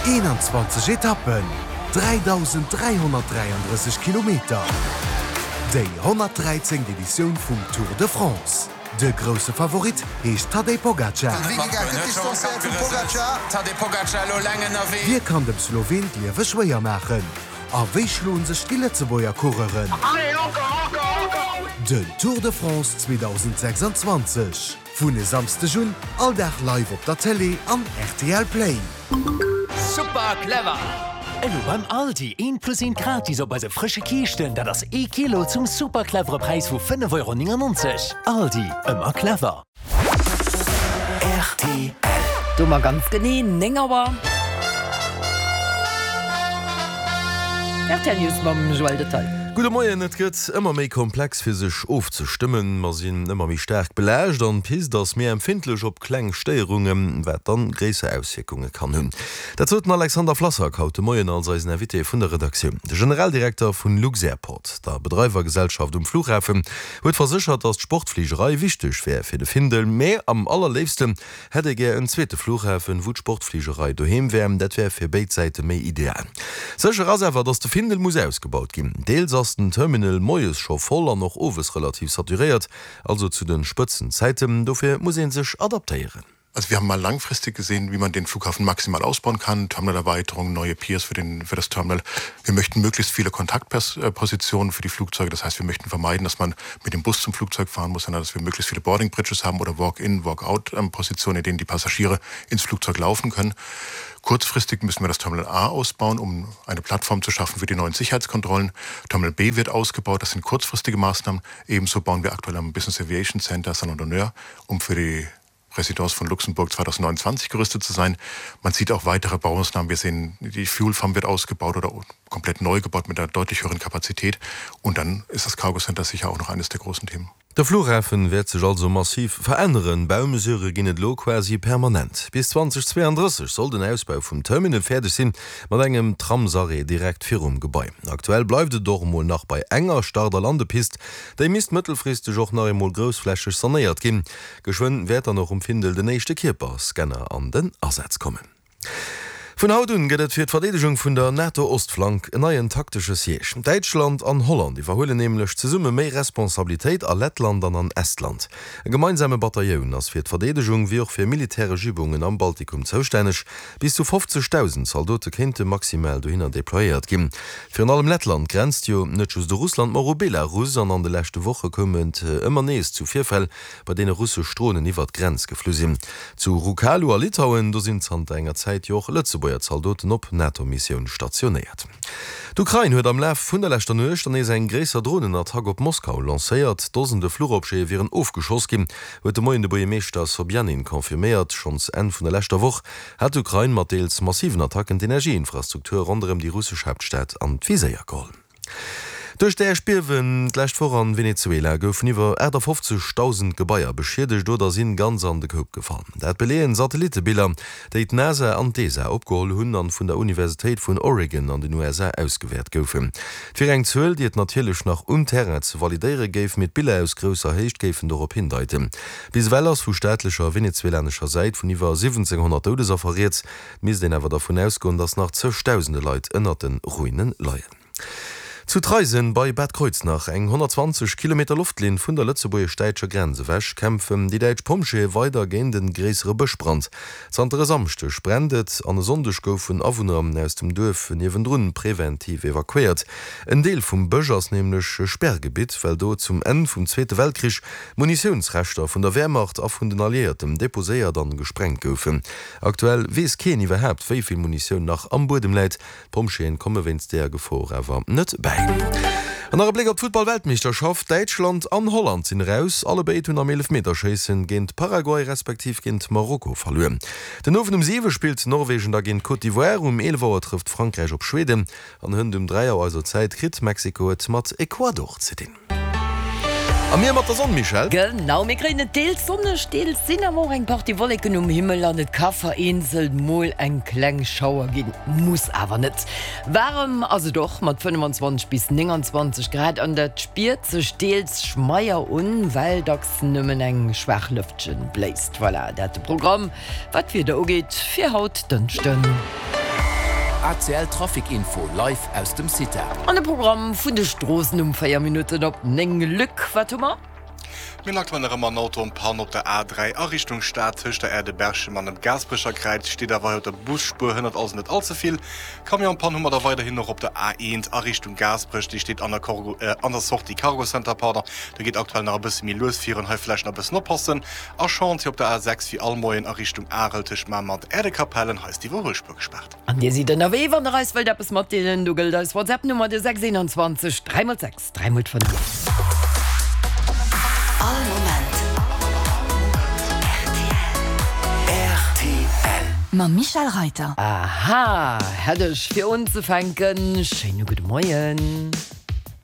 21 Etappen, 3.333 Kilometer, déi 113. Editioun vum Tour de France. De grousse Favorit heescht Tadej Pogacar. Wie kann dem Sloween d'Liewe schwéier maachen? A wéi schloen sech déi Lëtzebuerger Coureuren? Den Tour de France 2026. Vun e Samsdeg un all Dag live op der Télé an rtl Play. Super clever! Elo beim Aldi, eent plus eent gratis op eise frësche Kiischten, dat ass ee Kilo zum super clevere Präis vu 5,99 Euro. Aldi, ëmmer clever. Rtl. Do mer ganz genee 9 Auer. Rtl News mam Joël Detail. Gudde Moien, Et gëtt ëmmer méi komplex fir sech ofzestëmmen. Mer sinn ëmmer méi staark belaascht an d'Pist ass méi empfindlech op kleng Stéierungen, wat dann gréisser Auswierkunge kann hunn. Dat sot den Alexander Flassak haut de Moien als eisen Invité vun der Redaktioun. De Generaldirekter vun Luxairport, der Bedreiwergesellschaft um Flughafen, huet verséchert, datt d'Sportfligerei wichteg wär fir de Findel, mä am allerléifsten Hätt ee gär en zweete Flughafen, wou d'Sportfligerei doheem wär, dat wär fir béid Säite méi ideal. Sécher ass awer, datt de Findel muss ausgebaut ginn. Deels ass den Terminal moies scho voll an och owes relativ saturéiert, also zu de Spëtzenzäiten. Dofir muss ee sech adaptéieren. Also wir haben mal langfristig gesehen, wie man den Flughafen maximal ausbauen kann, Terminalerweiterung, neue Piers für den, für das Terminal. Wir möchten möglichst viele Kontaktpositionen für die Flugzeuge. Das heißt, wir möchten vermeiden, dass man mit dem Bus zum Flugzeug fahren muss, sondern dass wir möglichst viele Boarding Bridges haben oder Walk-in, Walk-out-Positionen, in denen die Passagiere ins Flugzeug laufen können. Kurzfristig müssen wir das Terminal A ausbauen, um eine Plattform zu schaffen für die neuen Sicherheitskontrollen. Terminal B wird ausgebaut, das sind kurzfristige Maßnahmen. Ebenso bauen wir aktuell am Business Aviation Center Salon d'Honneur, um für die Präsidence von Luxemburg 2029 gerüstet zu sein. Man sieht auch weitere Baumaßnahmen. Wir sehen, die Fuel Farm wird ausgebaut oder komplett neu gebaut mit einer deutlich höheren Kapazität. Und dann ist das Cargo Center sicher auch noch eines der großen Themen. De Flughafen wäert sech also massiv veränneren. Baumesurë ginn et elo quasi permanent. Bis 2032 soll den Ausbau vum Terminal fäerdeg sinn, mat engem Tramsarrêt direkt virum Gebai. Aktuell bleift et och emol nach bei enger Start a Landepist. Déi misst mëttelfristeg och nach eemol groussflächeg sanéiert ginn. Geschwënn wäert dann och um Findel den éischte Kierperscanner an den Asaz kommen. Vun haut un gëtt et fir d'Verdeedegung vun der NATO-Ostflank en neien taktesche Siège. Däitschland an Holland iwwerhuelen nämlech zesumme méi Responsabilitéit a Lettland an an Estland. E gemeinsame Batailloun ass fir d'Verdeedegung wéi och fir militäresch Übungen am Baltikum zoustänneg. Bis zu 50.000 Zaldote kéinte maximal dohinner deployéiert ginn. Virun allem Lettland grenzt jo net just u Russland, ma och u Belarus an an de leschte Woche koum et ëmmer nees zu Virfäll, bei deene russesch Dronen iwwert d'Grenz geflu sinn. Zu Rukalu a Litauen, do sinn zanter enger Zäit jo och Lëtzebuerger Zaldoten op NATO-Missioun stationéiert. D'Ukrain huet am Laf vun der leschter Nuecht dann nees eng gréisser Dronenattack op Moskau lancéiert. Dosende Fluchobjete wieren ofgeschoss ginn, huet de Moien de Buergermeeschter Sobjanin confirméiert. Schonns Enn vun der leschter Woch hat d'Ukrain mat deels massiven Attacken d'Energieinfrastruktur ronderëm déi russesch Haaptstad an d'Viséier geholl. Duerch d'Äerdbiewen d'lescht Woch an Venezuela goufen iwwer 58.000 Gebaier beschiedegt oder sinn ganz an de Koup gefall. Dat beleeën Satellittebiller, déi d'NASA an d'ESA opgeholl hunn an vun der Universitéit vun Oregon an den USA ausgewäert goufen. Et wier eng Zuel, déi et natierlech nach um Terrain ze validéiere géif, mee d'Biller aus grousser Héicht géifen dorop hindeiten. Bis ewell ass vu staatlecher venezuelanescher Säit vun iwwer 1.700 Doudesaffer rieds. Et misst een awer dervun ausgoen, datt nach zëgdausende Leit ënnert de Ruine leien. Zu Traisen bei Bad Kreuznach, eng 120 Kilometer Loftlinn vun der lëtzebuergesch-däitscher Grenz ewech, kämpfen déi däitsch Pompjeeë weider géint e gréissere Bëschbrand. Zanter e Samschdeg brennt et an e Sonndeg goufen Awunner aus dem Duerf niewendrun preventiv evakuéiert. En Deel vum Bësch ass nämlech Sperrgebitt, well do zum Enn vum Zweete Weltkrich Munitiounsreschter vun der Wehrmacht a vun den Alliéierten deposéiert an gesprengt goufen. Aktuell weess keen iwwerhaapt, wéi vill Munitioun nach am Buedem läit. D'Pompjeeën komme wéinst deeër Gefor awer net bäi. An nach e Bléck op d'Futtball-Weltmeeschterschaft, Däitschland an Holland sinn eraus. Allebéid hunn am Eelefmeterschéissen géint Paraguay respektiv géint Marokko verluer. Den Owend um 7 spillt Norwegen da géint Côte d'Ivoire, um 11 Auer trëfft Frankräich op Schweden an hënt um 3 Auer eiser Zäit kritt Mexiko et mat Ecuador ze dinn. A mir mat der Sonn, Michèle? Genau, mir kréien et deels sonneg, deels sinn awer och eng Partie Wolleken um Himmel an et ka vereenzelt mol eng kleng Schauer ginn, muss awer net. Waarem ass et och mat 25 bis 29 Grad an dat spiert sech deels schmeier un, well dacks nëmmen eng schwaach Lëftchen bléist. Voilà, dat de Programm wat d'Wieder ugeet fir haut Dënschden. ACL Trafic Info live aus dem CITA. An de Programm vun de Stroossen um 4 Minutten op 9. Luc, wat hu mer? Mir hunn aktuell nach ëmmer en Auto en Panne op der A3 a Richtung Stad tëscht der Aire de Berchem an dem Gaasperecher Kräiz. Steet awer hei op der Busspuer, hënnert also net all ze vill. Camion en Panne hu mer da weiderhin och op der A1 a Richtung Gaasperech. Déi steet an der Corgo, an der Sortie Cargo Center, pardon. Do geet aktuell nach e bësse méi lues virun, hei vläicht nach e bëssen oppassen. A Chantier op der A6 wéi all Moien a Richtung Arel tëscht Mamer an der Aire de Capellen. Hei ass d'Iwwerhuelspuer gespaart. An dir sidd ënnerwee, wann der eis wëllt eppes matdeelen, do gëllt eis WhatsApp-Nummer, de 621 3 x 6 3 x 5. All Moment rtl. Mam Michel Reiter. Aha, hätt ech fir unzefänken. Schéine gudde Moien.